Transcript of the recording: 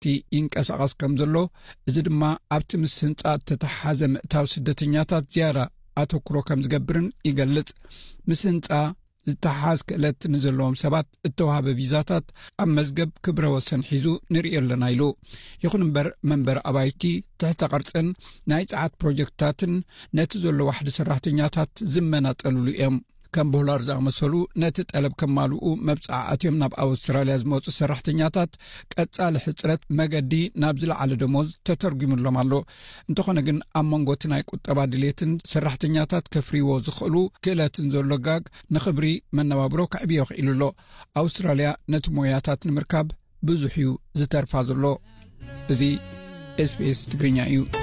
ዩኒቨርሲቲ ይንቀሳቐስ ከም ዘሎ፣ እዚ ድማ ኣብቲ ምስ ህንጻ እተተሓሓዘ ምእታው ስደተኛታት ዝያዳ ኣተኩሮ ከም ዝገብርን ይገልጽ። ምስ ህንጻ ዝተሓሓዝ ክእለት ንዘለዎም ሰባት እተዋህበ ቪዛታት ኣብ መዝገብ ክብረ ወሰን ሒዙ ንርእዮ ኣለና ኢሉ። ይኹን እምበር መንበር ኣባይቲ፣ ትሕተ ቅርጽን ናይ ጸዓት ፕሮጀክትታትን ነቲ ዘሎ ዋሕዲ ሰራሕተኛታት ዝመናጠልሉ እዮም። ከም ቦላር ዝኣመሰሉ ነቲ ጠለብ ከማልኡ መብጻዓ ኣትዮም ናብ ኣውስትራልያ ዝመጹ ሰራሕተኛታት ቀጻሊ ሕጽረት መገዲ ናብ ዝለዓለ ደሞዝ ተተርጒምሎም ኣሎ። እንተኾነ ግን ኣብ መንጎ እቲ ናይ ቁጠባ ድሌትን ሰራሕተኛታት ከፍርይዎ ዝኽእሉ ክእለትን ዘሎ ጋግ ንኽብሪ መነባብሮ ከዕብዮ ክኢሉ ኣሎ። ኣውስትራልያ ነቲ ሞያታት ንምርካብ ብዙሕ እዩ ዝተርፋ ዘሎ። እዚ ኤስቢኤስ ትግርኛ እዩ።